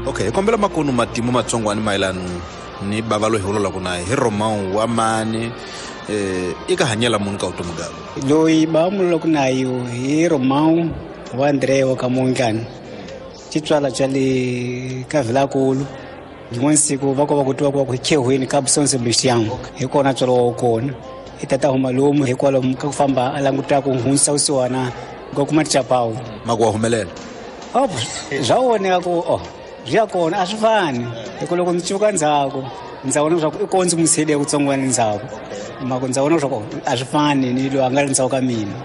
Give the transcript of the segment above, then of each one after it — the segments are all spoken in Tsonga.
Okay, hi kombela makunu matimu matsongwani mayelano ni bava loyi hi vulavulaka na hi Romão wa mani, i ka hanyela munhu ka vutomi bya loyi bava mululaku nayo hi Romão wa André wa ka Mondlane, xitswala xa le ka Vilakulu. Rin'wana siku va ko va ku twa ku va ku khehweni ka São Sebastião, hi kona tswalo wa kona. I tata huma lomu hikwalaho ka ku famba a languta ku hundzisa vusiwana ka kuma tichapawu. Maku wa humelela. Oh, swa voneka ku oh swi ya kona a swi fani, hi ku loko ndzi cuka ndzhaku ndza vona leswaku i ko ndzi n'wi siyele kutsongwana ndzhaku, mako ndza vona leswaku a swi fani ni loyi a nga ri ndzhaku ka mina.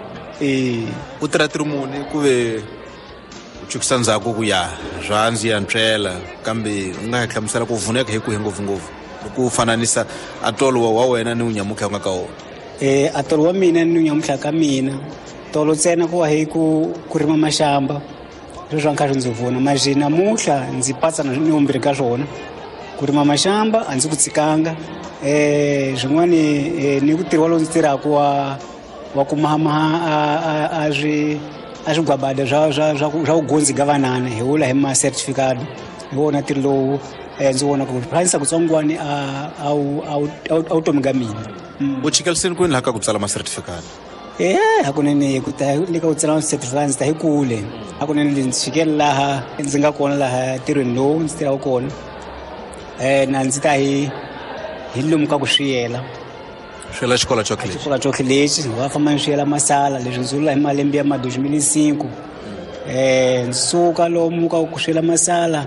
U tirha tirhi muni ku ve u chukisa ndzhaku ku ya swa ndzi ya ntswela, kambe u nga hi hlamusela ku vuneka hi kwihi ngopfungopfu loko u fananisa atolo wa wena ni unyamutlha u nga ka wona? Atolo wa mina ni unyamutlha ka mina tolo ntsena ku wa hi ku rima maxamba, leswi swa nkarhi ndzi vona maje namuntlha ndzi patsa na ni vumbirhi ka swona. Ku rima maxamba a ndzi ku tshikanga, swin'wani ni ku tirhiwa lowu ndzi tirhaka wa ku mahamaha a swi a swigwabada swa vugundzi ga vanana, hi vula hi ma certificate. Hi wona ntirho lowu ndzi vona ku hlayisa kutsongwani a vutomi ga mina. U chikeliseni kwini laha ka ku tsala ma certificate? Hakunene ku ta le ka ku tsala ma certificate ndzi ta hi kule. Hakunene ndzi chikele laha ndzi nga kona laha ntirhweni lowu ndzi tirhaka kona, na ndzi ta hi lomu ka ku swiyela. Swiyela xikolo xo lexi. Xikolo xo lexi, va famba ni swiyela masala, leswi ndzi vula hi malembe ya ma 2005. Ndzi suka lomu ka ku swiyela masala,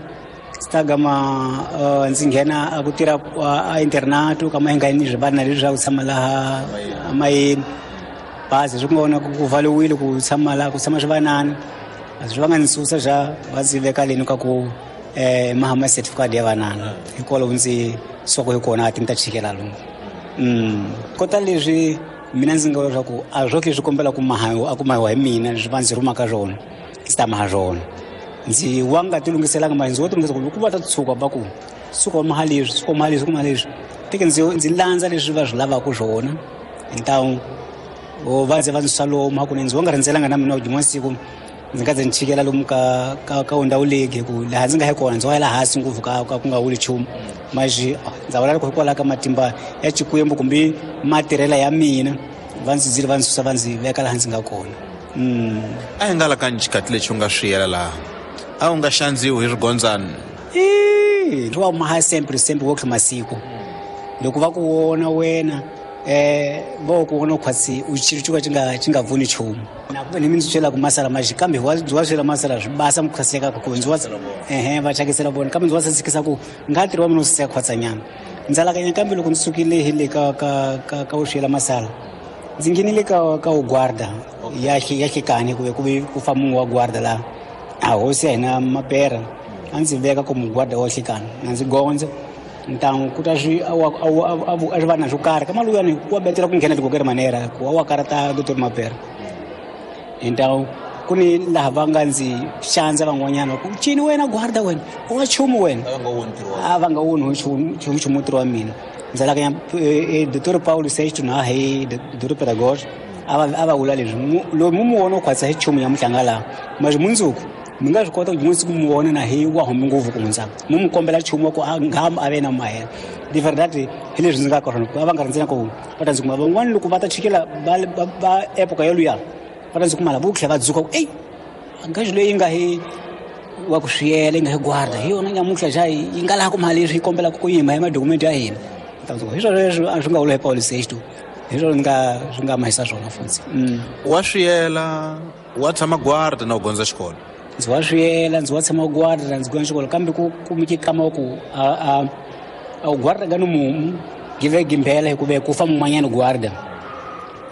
ndzi ta gama ndzi nghena a ku tirha a internato ka mahingani swi vana leswi swa ku tshama laha amayeni. Bazi swi nga vona ku valiwile ku tshama laha ku tshama swivanana. A swi va nga ndzi susa xa va ndzi veka leni ka ku mahama certificate ya vanana. Hikwalaho ndzi suka hi kona a ti ni ta chikela lomu. Kota leswi mina ndzi nga vula leswaku a swo leswi kombela ku mahawa a ku mahiwa hi mina leswi va ndzi rhumaka swona, ndzi ta maha swona. Ndzi wa nga ti lunghiselanga mali, ndzi wo ti lunghisa ku loko va ta tshuka va ku suka u maha leswi, suka u maha leswi, maha leswi, teke ndzi landza leswi va swi lavaka swona. Ntawu va ndzi va ndzi susa lomu hakunene, ndzi wa nga rindzelanga na mina rin'wana siku ndzi nga ze ndzi chikela lomu ka ndhawu leyi, ku laha ndzi nga hi kona ndzi wa yela hansi ngopfu ka ku nga wuli nchumu. Maxi ndza vula loko hikwalaho ka matimba ya Xikwembu kumbe matirhela ya mina va ndzi dzile va ndzi susa va ndzi veka laha ndzi nga kona. A hi nga la ka xikati lexi u nga swiyela laha, a u nga xandziwi hi swigondzana? Swi wa maha sempre sempre wo masiku. Loko va ku vona wena, va ku vona khwatsi u xilo xo ka xi nga pfuni nchumu. Na ku ni mi ndzi byela ku masala maxi, kambe ndzi wa swela masala swi basa mi khwaseka ku ndzi wa va thyakisela vona, kambe ndzi wa sasekisa ku nga ntirho wa mina wu saseka khwatsanyana. Ndzi alakanya kambe loko ndzi sukile hi le ka u swela masala, ndzi nghenile ka u guarda ya hlekani ku ve ku fa munhu wa guarda laha. A hosi ya hina Mapera a ndzi veka ku mugwarda wa hlekani, na ndzi gondza. Ntangu ku ta swi a a swi va na swo karhi ka maluyani wa betela ku nghena tikokeri manera ku wa karata Dr Mapera. Ntangu ku ni laha va nga ndzi xandza van'wanyana ku cini wena guarda wena u nga chumu wena, a va nga woni nchumu ntirho wa mina. Ndzi alakanya Dr Paulo Sexto na hi Dr Pedagogy a va vula leswi, loyi mu vona u khwatsa hi chumu ya muhlanga laha, mas mundzuku mi nga swi kota ku rin'wana siku mi vona na hi wa humi ngopfu ku hundza, mu mi kombela nchumu wa ku a nga a ve na mahela. De verdade hi leswi ndzi nga ka swona, a va nga rindzela ku va ta ndzi kuma van'wana loko va ta chikela va epoka yoluya va ta ndzi kuma lava vo tlhela va dzuka ku ey ngazi leyi nga hi wa ku swiyela yi nga hi guarda hi yona nyamutlha xa yi nga laha ku mali leswi yi kombelaka ku yima hi madokumenti ya hina. Hi swona leswi a swi nga vula hi Paulo Sexto, hi swona swi nga mahisa swona futhi. Wa swiyela, wa tshama guarda na u gondza xikolo? Ndzi wa swiyela, ndzi wa tshama guarda ndzi gondza xikolo, kambe ku kumeke kama ku a u guarda ga ni mumu give gimbela hi ku ve ku fa mun'wanyana guarda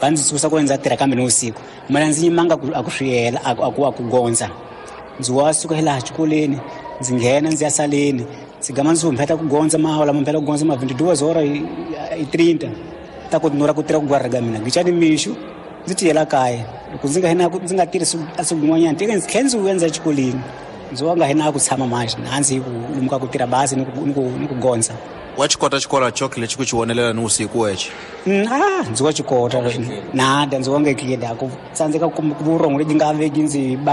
va ndzi susa ku ndza tirha kambe ni vusiku, mina ndzi yimanga a ku swiyela, a ku gondza. Ndzi wa suka hi laha xikolweni ndzi nghena ndzi ya saleni, ndzi gama ndzi humpheta ku gondza mahola mamphela ku gondza ma 22 hora i 30 ta ku nura ku tirha ku guarda ga mina gicani mixo ndzi tiyela kaya. Loko ndzi nga hina ndzi nga tirhisi a siku rin'wanyana teke ndzi tlhela ndzi vuya ndzi ya xikolweni, ndzi wa nga hina ku tshama manje na ndzi ku lomuka ku tirha bazi ni ku gondza. Wa xi kota xikolo choke lexi ku xi vonelela ni vusiku wexe? Ndzi wa xi kota nada, ndzi wa nge clear ku tsandzeka ku vurhongo lebyi nga veki ndzi